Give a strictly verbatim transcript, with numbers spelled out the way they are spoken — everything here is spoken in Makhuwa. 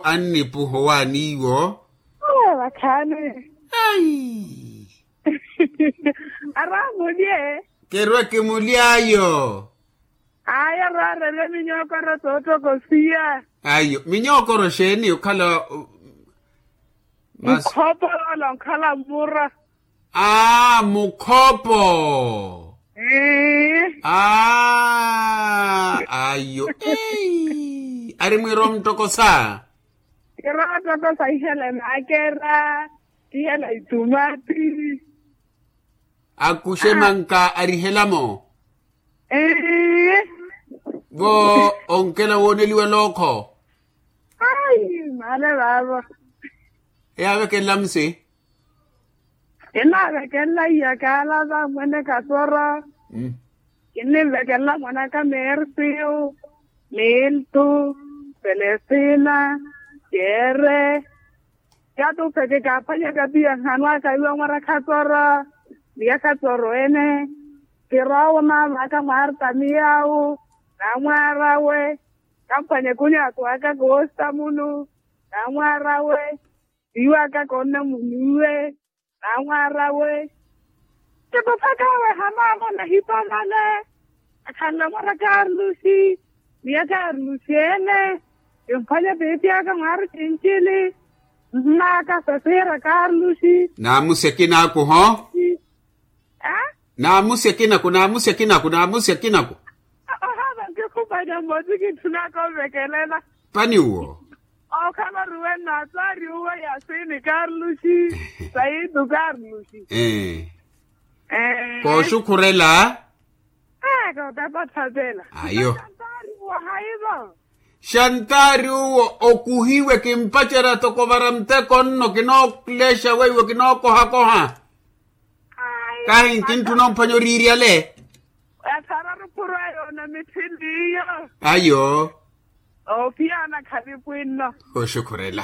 Annipuho waaniiwo. Vakhaani. Ai. Aramulye. Kerwa kimuly'ayo. Ayo rarerye minyookoro soottokosiya. Ayo minyookoro xeeni okhala? Mukhopo. Ola onkhala mmura. Aa mukhopo. Aa ayo. Ari mwiira omuttokosa. Kira ottokosa ihela emakera. Ihela itumati. Akuxe manka arihelamo. Vo onkela wooneliwa lookho. Ai male vaavo. Eyavekelela musi. Kinaavekelela iyakaala va mwene kasoro. Kinnivekelela mwanaka mersiu, miltu, selestina, kere. Katupe kikaaphwanyaka piya nhanu aka iwe mwara khatsoro. Miya khatsoro ene. Kirowo maamaka mwarta miyawu. Namwar'awe. Kamphwanye kunyaaku aka koostamunu. Namwar'awe. Iwe aka konnamuniwe. Namwar'awe. Kikuphaka awe hamaamo nahipamale. Akhanle mwara karlusi. Miya karlusi ene. Kimphwanye piipi aka mwari kincili. Mmaaka sasiira karlusi. Naamusi akinaku ho. Naamusi akinaku naamusi akinaku naamusi akinaku. Ohaava nkikhuphanya mmosi kintthunaka ovekelela. Pani uwo. Okhala ruwe naatsaari uwe yasini karlusi. Saitu karlusi. Kooxukhurela. Eka otapathapela ayo. Xantaari uwo okuhiwe kimpacerya toko vara muteko nno kinoolexa weiwo kinookohakoha. Kahi nkintthuna omphwanya oriiryale. Yathara ruphuru ayo na mitthini iyo. Ayo. Ophiyana khalipwinno. Oxukhurela.